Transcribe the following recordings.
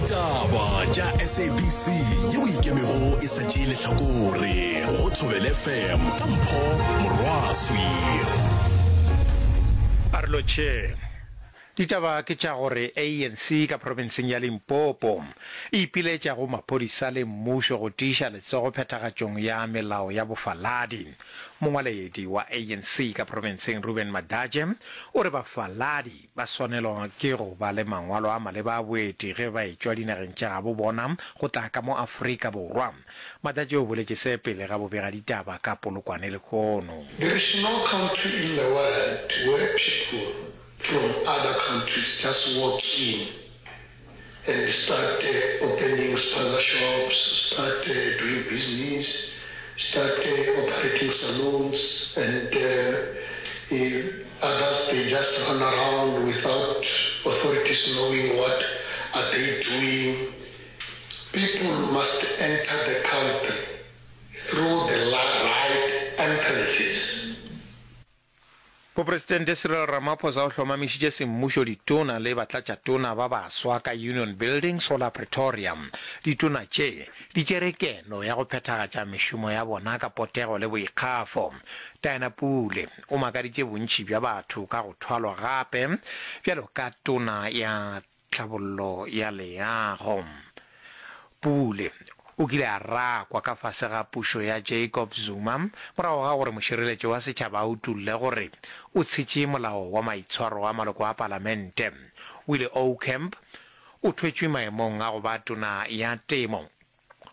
Ditaba tša SABC yeo e ikemego e sa tšee lehlakore go Thobela FM ka Mpho Morwaswi. A re lotšheng. Ditaba ke tša gore ANC ka profenseng ya Limpopo e ipiletša go maphodisa le mmušo go tiiša letsogo phethagatšong ya melao ya bofaladi. Mongwaledi wa ANC ka profenseng Reuben Madadzhe o re bafaladi Ba swanelwa ke go ba le mangwalo a maleba a boeti ge ba etšwa dinageng tša gabo bona go tla ka mo Afrika Borwa. Matšatši o boletše se pele ga bobegaditaba ka Polokwane lehono. There is no country in the world where people from other countries just walk in and start opening spaza shops, start doing business, start operating saloons and others they just run around without authorities knowing what are they doing. People must enter the country through the right entrances. Mopresidente Cyril Ramaphosa o hlomamišitše semmušo ditona le batlatšatona ba baswa ka Union Buildings go la Pretoria. Ditona tše di tšere keno ya go phethagatša mešomo ya bona ka potego le boikgafo. Diana Pule o makaditše bontši bja batho ka go thwalwa gape bjalo ka tona ya Tlhabollo ya leago. Pule o kile a rakwa ka fase ga pušo ya Jacob Zuma morago ga gore mošireletši wa setšhaba a utolle gore o tshetše molao wa maitshwaro a maloko a palamente. Willie Aucamp o thwetšwe maemong a go ba tona ya temo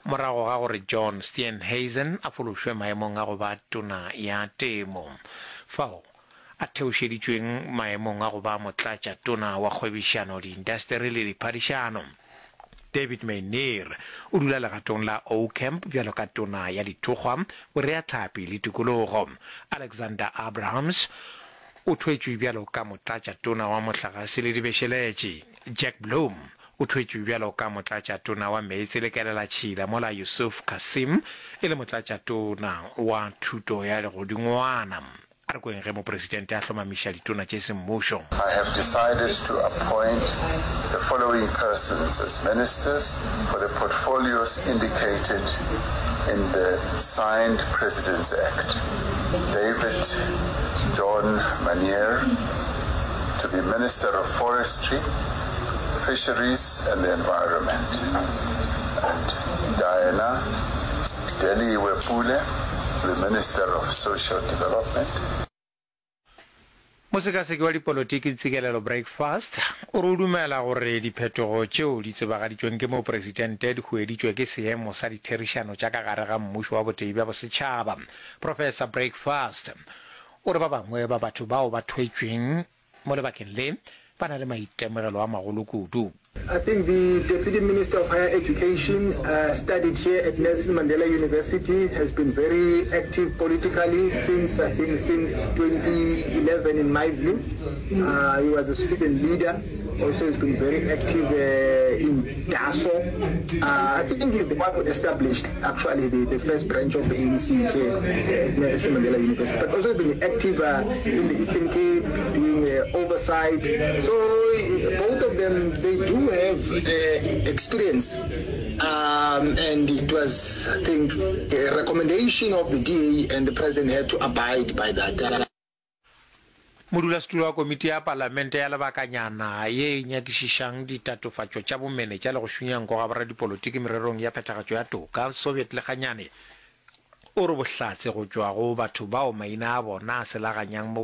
morago ga gore John Steenhuisen a fološwe maemong a go ba tona ya temo. Fao a theošeditšweng maemong a go ba motlatšatona wa kgwebišano, diindasteri le diphadišano. David Maynier o dula legatong la Aucamp bjalo ka tona ya dithokgwa, boreahlapi le tikologo. Alexander Abrahams o thwetšwe bjalo ka motlatšatona wa mohlagase le dibešeletši. Jack Bloom o thwetšwe bjalo ka motlatšatona wa meetse le kelelatšhila mola Yusuf Cassim e le motlatšatona wa thuto ya legodingwana. A re kweng ge Mopresidente a hlomamiša ditona tše semmušo. I have decided to appoint the following persons as ministers for the portfolios indicated in the signed President's Act, David John Manier to be Minister of Forestry, Fisheries and the Environment, and Diana Deliwe Pule, the Minister of Social Development. Mosekaseki wa dipolotiki Ntsikelelo Breakfast o re o dumela gore diphetogo tšeo di tsebagaditšweng ke mopresidente di hueditšwe ke seemo sa ditherišano tša ka gare ga mmušo wa botee bja bosetšhaba. Professor Breakfast o re ba bangwe ba batho bao ba thwetšweng Mo lebakeng le, ba na le maitemogelo a magolo kudu. I think the Deputy Minister of Higher Education studied here at Nelson Mandela University, has been very active politically since, I think, since 2011 in my view. Uh, he was a student leader. Also, he's been very active uh, in DASO. Uh, I think he's the one who established actually the, the first branch of the ANC here at Nelson Mandela University. But also been active uh, in the Eastern Cape, doing uh, oversight. So both of them, they do have uh, experience. Um, and it was, I think, a recommendation of the DA and the president had to abide by that. Modulasetulo wa komiti ya palamente ya lebakanyana ye e nyakišišang ditatofatšo tša bomenetša le go šunya nko ga boradipolotiki mererong ya phethagatšo ya toka, Soviet Lekganyane, o re bohlatse go tšwa go batho bao maina a bona a selaganyang mo.